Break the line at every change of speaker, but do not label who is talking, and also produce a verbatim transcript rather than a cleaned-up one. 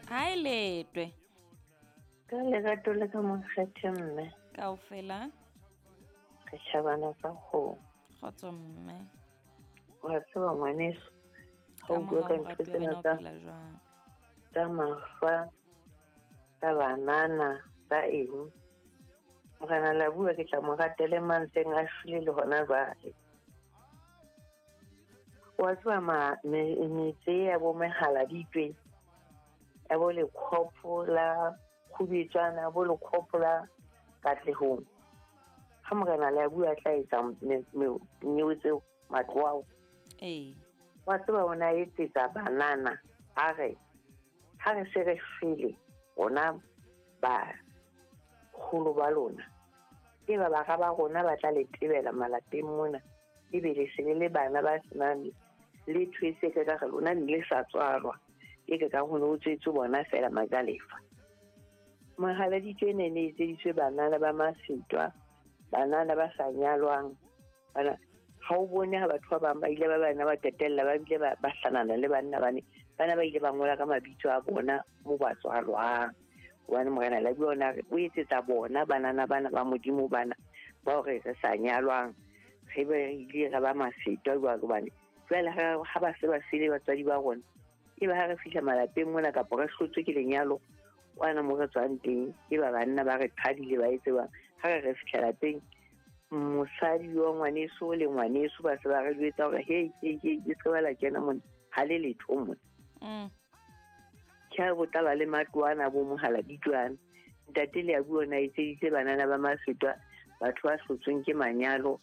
Ha e letwe.
Ka lerato le ka mokgethe mme.
Kaofela.
Re tjhabana ka kgomo.
Kgotso mme.
Wa tseba ngwaneso, ha o bua ka ntho tsena tsa tsa mafa, tsa banana, tsa eng. Morena la bua ke tla mo ratele mantseng a shwele le hona jwale. Wa tseba ma metse ya bo mehaladitwe, ya bo lekgopo la kgubetswana, bo lekgopo la Katlehong. Ha morena la bua tla etsa nyewe tseo matlo ao.
Ee.
Wa tseba o na etsetsa banana a re ha re se re shwele rona baholo ba lona, e ba bara ba rona ba tla le tebela malapeng mona, ebe le se le le bana ba senang letho e se ka re lona ne le sa tswalwa, e ke ka ho no tswetse bona fela majalefa. Mohaladitwe ne ne etseditswe banana ba masetwa, banana ba sa nyalwang, bana ha o bone ha batho ba bang ba ile ba bana ba qetella ba bile ba ba hlanana le banna bane, bana ba ile ba ngola ka mabitso a bona mo ba tswalwang. Hobane morena la bua ona re o etsetsa bona banana bana ba Modimo bana ba hore re sa nyalwang, re be re ile ra ba masetwa jwalo, hobane jwale ha ba se ba shwele batswadi ba rona, e ba ha re fihla malapeng mona kapa re hlotswe ke lenyalo kwana mo re tswang teng, e ba banna ba re qhadile ba etse bang. Ha re re fihla lapeng, mosadi wa ngwaneso le ngwaneso ba se ba re jwetsa hore hei, hei, hei, le se ba la kena mona, ha le letho mona.
Mm.
Ke ha bo tla ba le matlo ana bo mohaladitwana. Ntate le a bua ona etseditse banana ba masetwa, batho ba hlotsweng ke manyalo,